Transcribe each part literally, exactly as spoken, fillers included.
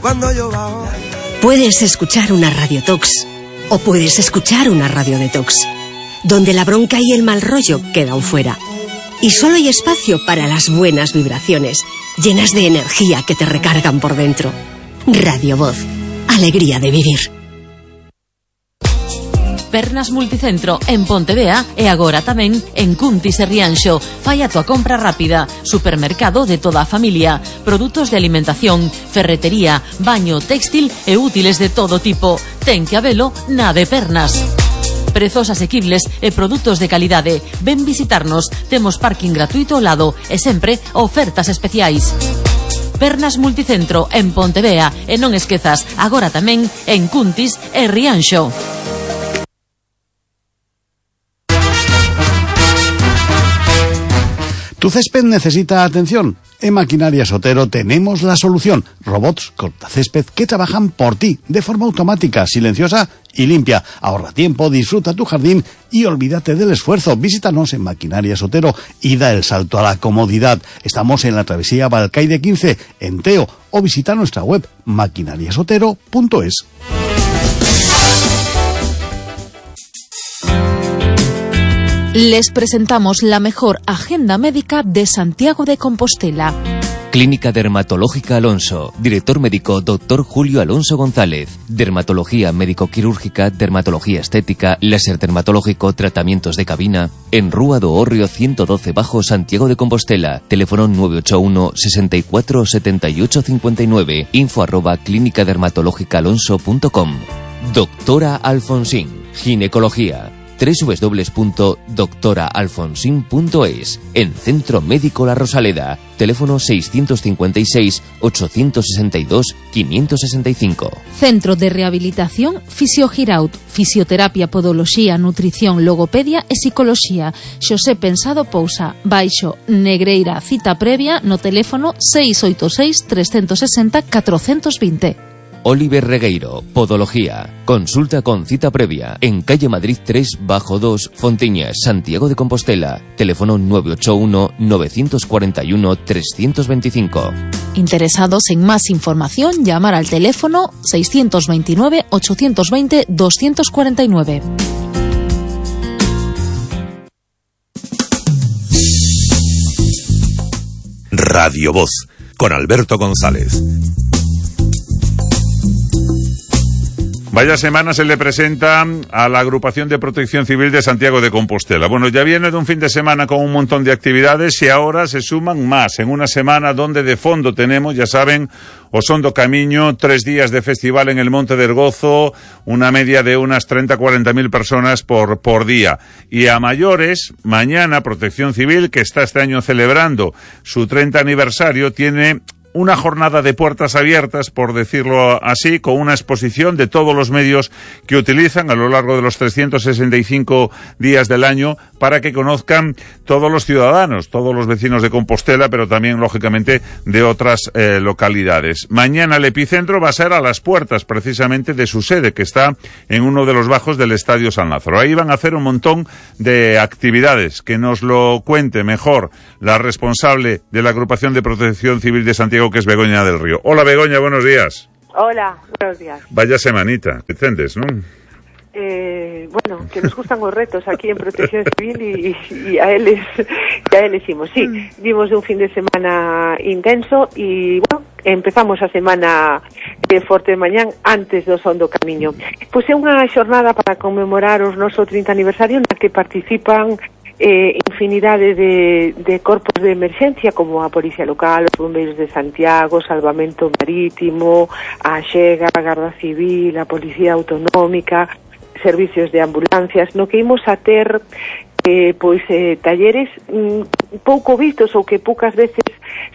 Cuando yo bajo. Puedes escuchar una Radio Tox o puedes escuchar una Radio Detox, donde la bronca y el mal rollo quedan fuera. Y solo hay espacio para las buenas vibraciones, llenas de energía que te recargan por dentro. Radio Voz. Alegría de vivir. Pernas Multicentro en Pontevea e agora tamén en Cuntis e Rianxo. Fai a tua compra rápida. Supermercado de toda a familia. Produtos de alimentación, ferretería, baño, textil e útiles de todo tipo. Ten que habelo na de Pernas. Prezos asequibles e produtos de calidade. Ven visitarnos. Temos parking gratuito ao lado e sempre ofertas especiais. Pernas Multicentro en Pontevea e non esquezas, agora tamén en Cuntis e Rianxo. Tu césped necesita atención. En Maquinarias Otero tenemos la solución. Robots cortacésped que trabajan por ti de forma automática, silenciosa y limpia. Ahorra tiempo, disfruta tu jardín y olvídate del esfuerzo. Visítanos en Maquinarias Otero y da el salto a la comodidad. Estamos en la travesía Balcaide quince, en Teo, o visita nuestra web maquinarias otero punto es. Les presentamos la mejor agenda médica de Santiago de Compostela. Clínica Dermatológica Alonso. Director médico doctor Julio Alonso González. Dermatología médico-quirúrgica, dermatología estética, láser dermatológico, tratamientos de cabina. En Rúa do Hórreo ciento doce bajo, Santiago de Compostela. Teléfono nueve ocho uno, sesenta y cuatro, setenta y ocho cincuenta y nueve. Info arroba clínica dermatológica alonso punto com. Doctora Alfonsín. Ginecología. doble u doble u doble u punto doctora alfonsín punto es. En Centro Médico La Rosaleda. Teléfono seiscientos cincuenta y seis, ochocientos sesenta y dos, quinientos sesenta y cinco. Centro de Rehabilitación Fisiogiraut. Fisioterapia, podoloxía, nutrición, logopedia e psicoloxía. Xosé Pensado Pousa. Baixo Negreira. Cita previa no teléfono seis oito seis, tres seis cero, catro dos cero. Oliver Regueiro, Podología. Consulta con cita previa en calle Madrid tres bajo dos, Fontiñas, Santiago de Compostela. Teléfono nueve ocho uno, nueve cuatro uno, tres dos cinco. Interesados en más información, llamar al teléfono seis dos nueve, ocho dos cero, dos cuatro nueve. Radio Voz, con Alberto González. Vaya semana se le presenta a la Agrupación de Protección Civil de Santiago de Compostela. Bueno, ya viene de un fin de semana con un montón de actividades y ahora se suman más en una semana donde de fondo tenemos, ya saben, Osondo Camiño, tres días de festival en el Monte del Gozo, una media de unas treinta a cuarenta mil personas por, por día. Y a mayores, mañana Protección Civil, que está este año celebrando su treinta aniversario, tiene una jornada de puertas abiertas, por decirlo así, con una exposición de todos los medios que utilizan a lo largo de los trescientos sesenta y cinco días del año para que conozcan todos los ciudadanos, todos los vecinos de Compostela, pero también, lógicamente, de otras eh, localidades. Mañana el epicentro va a ser a las puertas, precisamente, de su sede, que está en uno de los bajos del Estadio San Lázaro. Ahí van a hacer un montón de actividades. Que nos lo cuente mejor la responsable de la Agrupación de Protección Civil de Santiago, que es Begoña del Río. Hola, Begoña, buenos días. Hola, buenos días. Vaya semanita, Vicentes, ¿no? Eh, bueno, que nos gustan os retos aquí en Protección Civil y, y a eles y a eles imos. Sí, vimos un fin de semana intenso e, bueno, empezamos a semana de forte de mañán antes do Osondo Camiño. Pois é unha xornada para conmemorar os noso trinta aniversario na que participan Eh, infinidade de, de corpos de emerxencia como a Policía Local, os Bombeiros de Santiago, Salvamento Marítimo, a Xega, a Garda Civil, a Policía Autonómica, servicios de ambulancias, no que imos a ter eh, pois eh, talleres mm, pouco vistos ou que poucas veces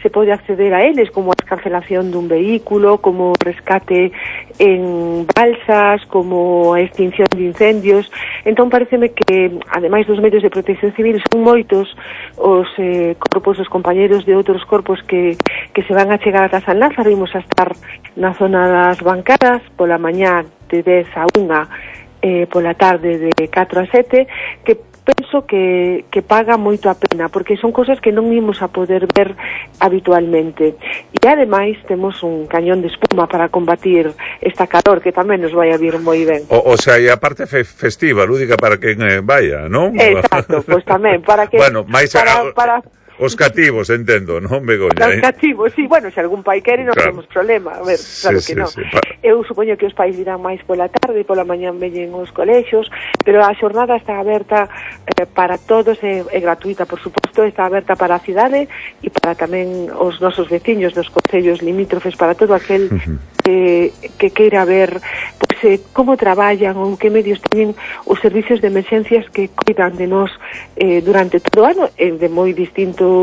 se pode acceder a eles, como a cancelación dun vehículo, como rescate en balsas, como a extinción de incendios. Entón pareceme que, ademais dos medios de protección civil, son moitos os eh, corpos, os compañeros de outros corpos que, que se van a chegar a San Lázaro. Imos a estar na zona das bancadas pola mañá de dez a unha, eh, pola tarde de catro a sete, que penso penso que, que paga moito a pena, porque son cosas que non imos a poder ver habitualmente. E ademais temos un cañón de espuma para combatir esta calor que tamén nos vai a vir moi ben. O, o sea, e a parte fe festiva, lúdica para quen eh, vaya, non? Exacto, pois pues tamén, para que... Bueno, máis para, a... para... Os cativos, entendo, non, Begoña? Os cativos, sí, bueno, se algún pai quere non claro. temos problema, a ver, claro sí, que non. Sí, sí. Eu supoño que os pais virán máis pola tarde e pola mañán veñen os colexios, pero a xornada está aberta eh, para todos, é, é gratuita, por suposto, está aberta para a cidade e para tamén os nosos veciños dos concellos limítrofes, para todo aquel uh-huh. que, que queira ver pues, eh, como traballan ou que medios teñen os servicios de emerxencias que cuidan de nós eh, durante todo o ano, eh, de moi distinto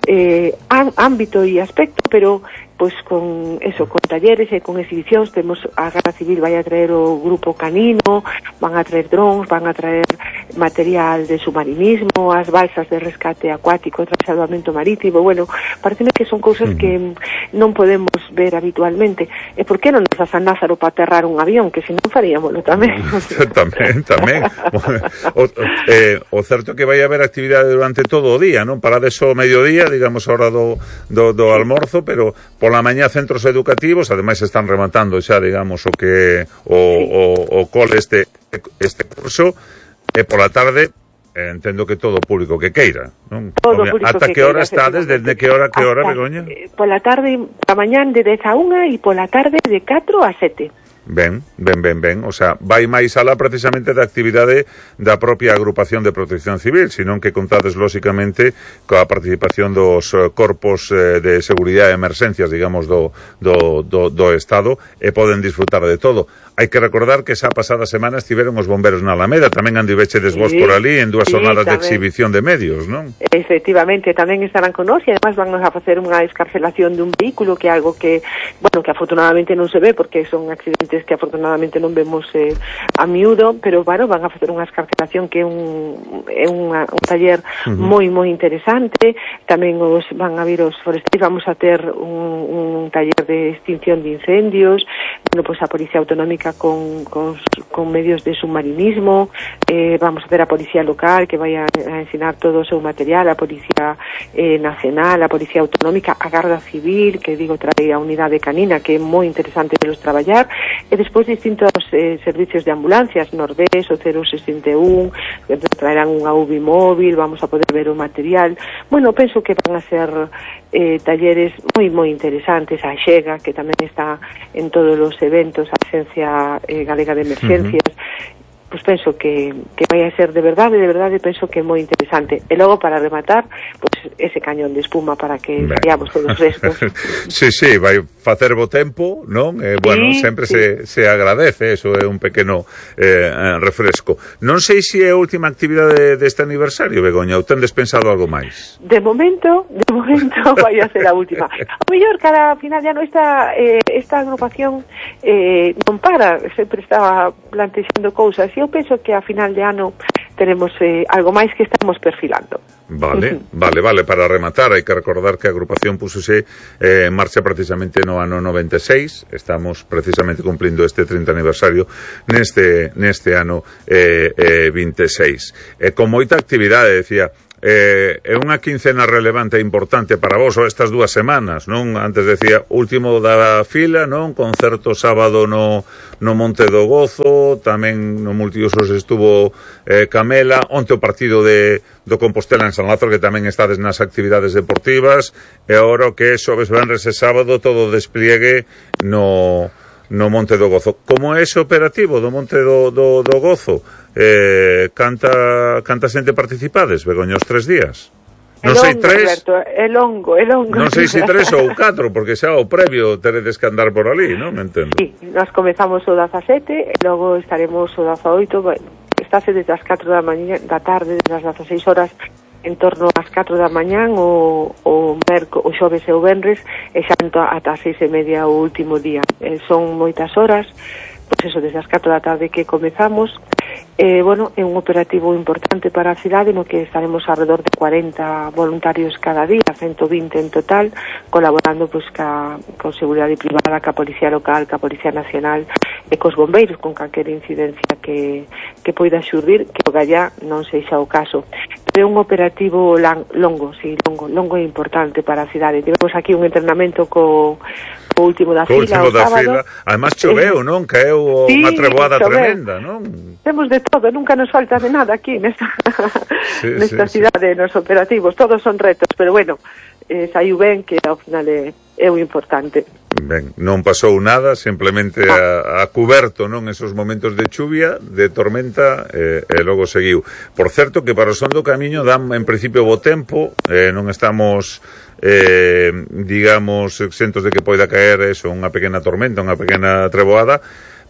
Eh, ámbito e aspecto, pero pois con eso, con talleres e con exhibicións. Temos a Garda Civil vai a traer o grupo canino, van a traer drons, van a traer material de submarinismo, as balsas de rescate acuático, de salvamento marítimo. Bueno, pareceme que son cousas que non podemos ver habitualmente. E por que non nos a San Lázaro para aterrar un avión, que se non faríamoslo tamén. tamén, tamén. o, eh, o certo que vai haber actividade durante todo o día, non? Parades o mediodía, digamos, a hora do, do, do almorzo, pero pola mañá centros educativos, ademais están rematando xa, digamos, o que o, sí. o, o cole este este curso, e pola tarde eh, entendo que todo o público que queira, non? Todo o público ata que que hora queira, estades, desde que hora que hora, hasta, Begoña? Eh, pola tarde, pola mañán de dez a unha e pola tarde de catro a sete. Ben, ben, ben, ben. O sea, vai máis alá precisamente da actividade da propia agrupación de protección civil, senón que contades, lóxicamente, coa participación dos corpos eh, de seguridade e emerxencias, digamos, do, do, do, do Estado, e poden disfrutar de todo. Hai que recordar que esa pasada semana estiveron os bomberos na Alameda, tamén andivechedes vos sí, por ali en dúas jornadas sí, de exhibición de medios, non? Efectivamente, tamén estarán con nós, e además van a facer unha escarcelación dun vehículo, que é algo que, bueno, que afortunadamente non se ve, porque son accidentes que afortunadamente non vemos eh, a miúdo, pero bueno, van a facer unha escarcelación que é un, é unha, un taller uh-huh. moi, moi interesante. Tamén os van a vir os forestais, vamos a ter un, un taller de extinción de incendios, bueno, pois pues a Policía Autonómica con, con, con medios de submarinismo, eh, vamos a ter a Policía Local que vai a, a ensinar todo o seu material, a Policía eh, Nacional, a Policía Autonómica, a Garda Civil, que digo, trae a unidade canina, que é moi interesante pelos traballar, e despois distintos eh, servicios de ambulancias, Nordés, o cero sesenta e un, que traerán unha U B I móvil, vamos a poder ver o material. Bueno, penso que van a ser eh, talleres moi, moi interesantes. A Xega, que tamén está en todos os eventos, a Agencia eh, Galega de Emergencias, uh-huh. pues penso que, que vai a ser de verdade, de verdade, penso que é moi interesante. E logo, para rematar, pues ese cañón de espuma para que veamos todos frescos. Sí, sí, vai facer bo tempo, non? Eh, bueno, sí, sempre sí. se, se agradece, eso é un pequeno eh, refresco. Non sei se é a última actividade deste aniversario, Begoña, ou tendes pensado algo máis? De momento, de momento vai a ser a última. O mellor, cada final de ano esta, eh, esta agrupación eh, non para, sempre está plantexando cousas, e eu penso que a final de ano teremos eh, algo máis que estamos perfilando. Vale, vale, vale, para rematar hai que recordar que a agrupación pusose eh, en marcha precisamente no ano noventa e seis, estamos precisamente cumplindo este trinta aniversario neste, neste ano eh, eh, vinte e seis. E con moita actividade, decía, Eh, é unha quincena relevante e importante para vos, ou estas dúas semanas, non? Antes decía, último da fila, non? Concerto sábado no, no Monte do Gozo, tamén no Multiusos estuvo eh, Camela, onte o partido de, do Compostela en San Lázaro, que tamén estades nas actividades deportivas, e agora o que é xoves, venres e sábado, todo o despliegue no... no Monte do Gozo. Como é ese operativo do Monte do, do, do Gozo? Eh, canta, canta xente participades, Begoña, os tres días? Non sei tres... Alberto, é longo, é longo. Non sei se tres ou catro, porque xa o previo teredes que andar por ali, non? Me entendo. Sí, nós comezamos o dezasete, e logo estaremos o dezaoito, bueno, estáse desde as catro da mañá, da tarde, desde as dezaseis horas, en torno ás catro da mañán o, o, merco, o xoves e o venres, e xa ata as seis e media o último día. Eh, son moitas horas, pois eso, desde as catro da tarde que comezamos, Eh, bueno, é un operativo importante para a cidade no que estaremos alrededor de cuarenta voluntarios cada día, ciento vinte en total, colaborando pois ca, con seguridade privada, ca Policía Local, ca Policía Nacional e cos bombeiros con calquera incidencia que, que poida xurdir, que o gallá non sexa o caso. É un operativo lang, longo, sí, longo, longo e importante para a cidade. Tivemos aquí un entrenamento co o último da fila, último o da sábado. Fila. Además choveu, non? Caeu sí, unha treboada choveu. tremenda, non? Temos de todo, nunca nos falta de nada aquí nesta, sí, nesta sí, cidade, sí. Nos operativos, todos son retos, pero bueno, eh, saiu ben, que ao final é, é o importante. Ben, non pasou nada, simplemente a, a cuberto, non, esos momentos de chuvia, de tormenta, eh, e logo seguiu. Por certo, que para o son do camiño dan en principio bo tempo, eh, non estamos eh, digamos exentos de que poida caer eso, unha pequena tormenta, unha pequena treboada,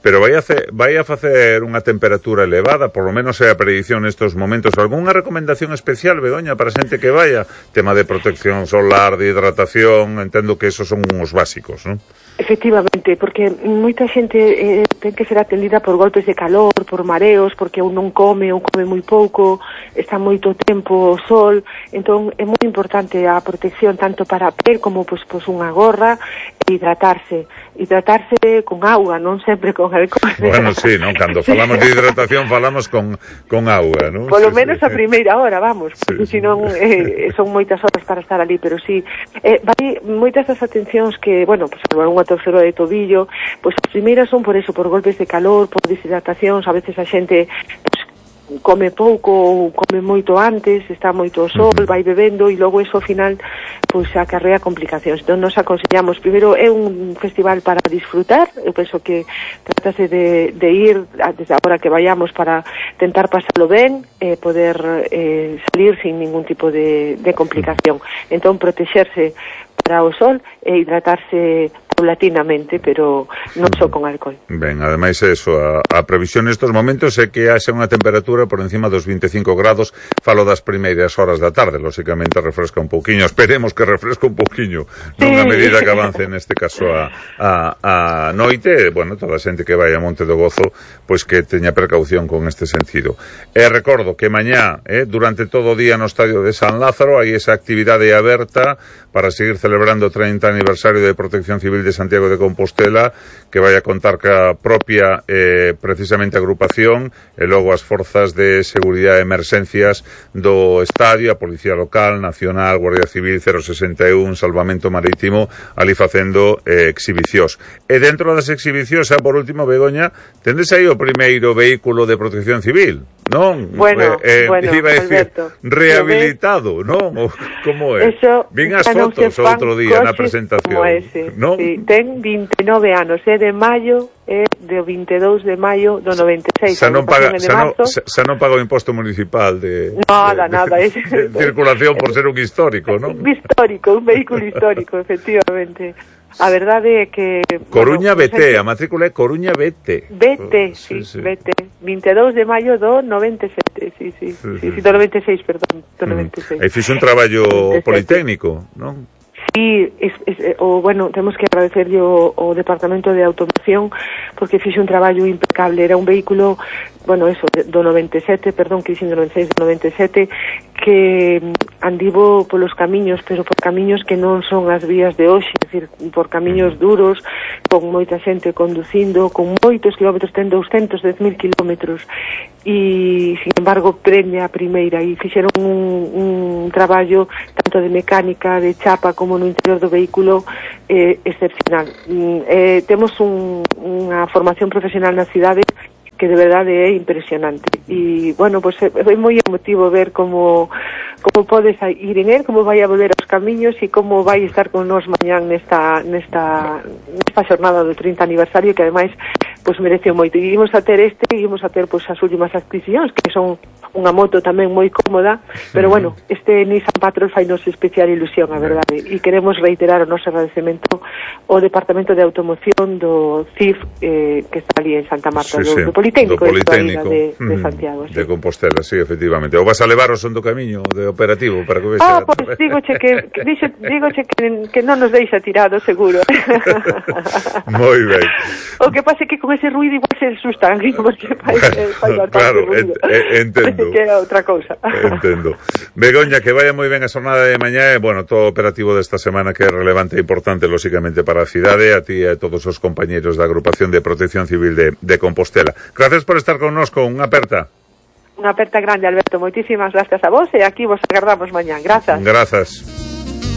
pero vai a, ce, vai a facer unha temperatura elevada, por lo menos é a predición nestos momentos. Algúnha recomendación especial, Begoña, para a xente que vaya? Tema de protección solar, de hidratación, entendo que esos son uns básicos, non? Efectivamente, porque moita xente eh, ten que ser atendida por golpes de calor, por mareos, porque un non come, ou come moi pouco, está moito tempo o sol, entón é moi importante a protección tanto para a pel como pois, pois unha gorra e hidratarse, hidratarse con auga, non sempre con alcohol. Bueno, sí, non, cando falamos de hidratación falamos con, con auga, non? Polo sí, menos sí. a primeira hora, vamos, porque sí, senón eh, son moitas horas para estar ali, pero sí, eh, vai moitas das atencións que, bueno, pues unha torcedura de tobillo, pois as primeiras son por eso, por golpes de calor, por deshidratacións, a veces a xente pues, come pouco ou come moito antes, está moito o sol, vai bebendo e logo eso ao final pois acarrea complicacións. Entón nos aconsellamos, primeiro é un festival para disfrutar, eu penso que tratase de, de ir desde agora que vayamos para tentar pasalo ben e eh, poder eh, salir sin ningún tipo de, de complicación. Entón protexerse para o sol e hidratarse paulatinamente, pero non só con alcohol. Ben, ademais eso, a, a previsión nestes momentos é que haxa unha temperatura por encima dos veinticinco grados, falo das primeiras horas da tarde, lóxicamente refresca un pouquiño, esperemos que refresca un pouquiño, non a medida que avance neste caso a, a, a noite, bueno, toda a xente que vai a Monte do Gozo, pois que teña precaución con este sentido. E recordo que mañá, eh, durante todo o día no Estadio de San Lázaro, hai esa actividade aberta para seguir celebrando o trinta aniversario de Protección Civil de Santiago de Compostela, que vai a contar ca propia eh, precisamente agrupación e logo as forzas de seguridade e emerxencias do estadio, a Policía Local, Nacional, Guardia Civil, cero sesenta e un, Salvamento Marítimo, ali facendo eh, exhibicións. E dentro das exhibicións, xa por último, Begoña, tendes aí o primeiro vehículo de Protección Civil, non? Bueno, eh, eh, bueno, iba a decir, Alberto, rehabilitado, non? O, como é? Eso, Vin as fotos o outro día na presentación, non? Sí, ten veintinueve anos, é de maio, é de veintidos de maio do noventa e seis. Xa non paga, xa non, xa non paga o imposto municipal de, nada, de, nada, de, es, de circulación por ser un histórico, non? Histórico, un vehículo histórico, efectivamente. A verdade é que... Coruña bueno, B T, a matrícula é Coruña B T. B T, sí, sí, sí, B T. veintidos de maio do noventa e sete, sí, sí, sí, sí, sí, sí, do noventa e seis, perdón, do noventa e seis. E fixe un traballo politécnico, non? Sí, es, es, o, bueno, temos que agradecerlle o, o Departamento de Automoción porque fixe un traballo impecable. Era un vehículo, bueno, eso, do noventa e sete, perdón, que dixen do noventa e seis, do noventa e sete, que andivo polos camiños, pero por camiños que non son as vías de hoxe, é dicir, por camiños duros, con moita xente conducindo, con moitos kilómetros, ten doscientos dez mil kilómetros, e, sin embargo, prende a primeira, e fixeron un, un traballo tanto de mecánica, de chapa, como no interior do vehículo eh, excepcional. Eh, temos un, unha formación profesional na cidade que de verdade é impresionante e, bueno, pues é, é moi emotivo ver como como podes ir en él, como vai a volver aos camiños e como vai estar con nos mañán nesta nesta nesta xornada do trinta aniversario que ademais pues mereceu moito. E ímos a ter este, e ímos a ter pues as últimas adquisicións que son unha moto tamén moi cómoda, pero bueno, este Nissan Patrol fai nos especial ilusión, a verdade, e queremos reiterar o noso agradecemento ao Departamento de Automoción do C I F, eh, que está ali en Santa Marta, sí, do, sí. do Politécnico, do Politécnico de, de Santiago, sí. De Compostela, sí, efectivamente. Ou vas a levar o son do camiño de operativo para que vexa. Ah, pois pues, dígoche que, que dixo, dígoche que, que non nos deixa tirado, seguro. Moi ben. O que pasa é que con ese ruido igual se asustan, porque fai, fai bastante claro, ruido. En, entendo. Que é outra cousa. Entendo. Begoña, que vaya moi ben a xornada de mañá e, bueno, todo o operativo desta semana que é relevante e importante, lóxicamente, para a cidade, a ti e a todos os compañeiros da Agrupación de Protección Civil de, de Compostela. Gracias por estar connosco, unha aperta. Unha aperta grande, Alberto. Moitísimas gracias a vos e aquí vos agardamos mañán. Grazas. Grazas.